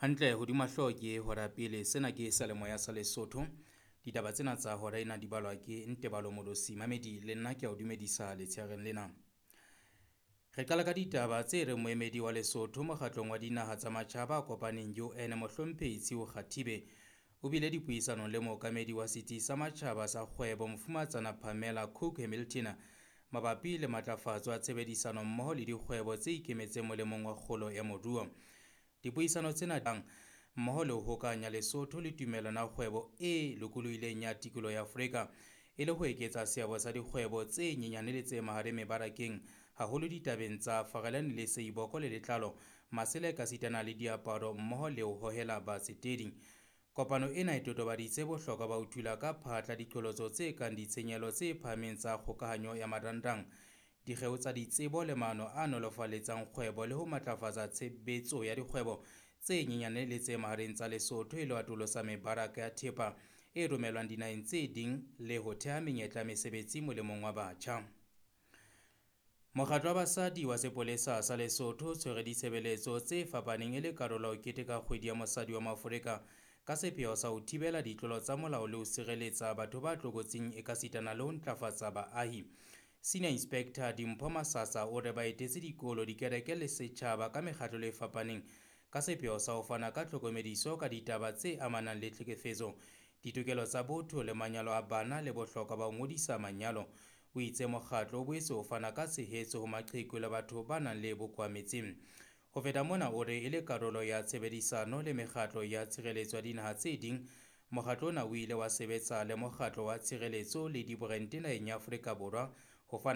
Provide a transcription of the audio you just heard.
Hantle hodima hlooho ke hora pele. Sena ke Seyalemoya sa Lesotho. Ditaba tsena tsa hora ena di balwa ke Ntebalo Molosi. Mamedi le nna ke a o dumedisa letshehareng lena. Re qala ka ditaba tse reng moemedi wa Lesotho mokgatlong wa dinaha tsa matjhaba a kopaneng UN Mohlomphehi Tshiu Kgathibe o bile dipuisanong le mookamedi wa setsi sa matjhaba sa kgwebo Mofumahatsana Pamela Cook Hamilton mabapi le matlafatso a tshebedisano mmoho le dikgwebo tse ikemetseng molemong wa kgolo ya moruo. Dipuisano tsena mmoho le ho hokahanya Lesotho le tumellano ya kgwebo e lokolohileng ya tikoloho ya Afrika e le ho eketsa seabo sa dikgwebo tse nyenyane le tse mahareng mebarakeng, haholo ditabeng tsa farelane le seiboko le letlalo, masela ekasitana le diaparo mmoho le ho hohela batsetedi. Kopano ena e totobaditse bohlokwa ba ho thula ka phatla diqholotso tse kang ditshenyehelo tse phahameng tsa kgokahanyo ya marangrang, dikgeo tsa ditsebo le maano a nolofaletsang kgwebo le ho matlafatsa tshebetso ya dikgwebo tse nyenyane le tse mahareng tsa Lesotho e le ho atolosa mebaraka ya thepa e romelwang dinaheng tse ding le ho theha menyetla ya mesebetsi molemong wa batjha. Mokgatlo wa basadi wa sepolesa sa Lesotho o tshwere ditshebeletso tse fapaneng e le karolo ya ho keteka kgwedi ya mosadi wa Maafrika ka sepheo sa ho thibela ditlolo tsa molao le ho sireletsa batho ba tlokotsing ekasitana le ho ntlafatsa baahi. Senior Inspector Dimpho Masasa o re ba etetse dikolo, dikereke le setjhaba ka mekgatlo e fapaneng ka sepheo sa ho fana ka tlhokomediso ka ditaba tse amanang le tlhekefetso, ditokelo tsa botho le manyalo a bana le bohlokwa ba ho ngodisa manyalo. O itse mokgatlo o boetse o fana ka tshehetso ho maqheku le batho ba nang le bokowa metseng. Ho feta mona o re e le karolo ya tshebedisano le mekgatlo ya tshireletso ya dinaha tse ding, mokgatlo ona o ile wa sebetsa le mokgatlo wa tshireletso le diborente naheng ya Afrika Borwa ho fana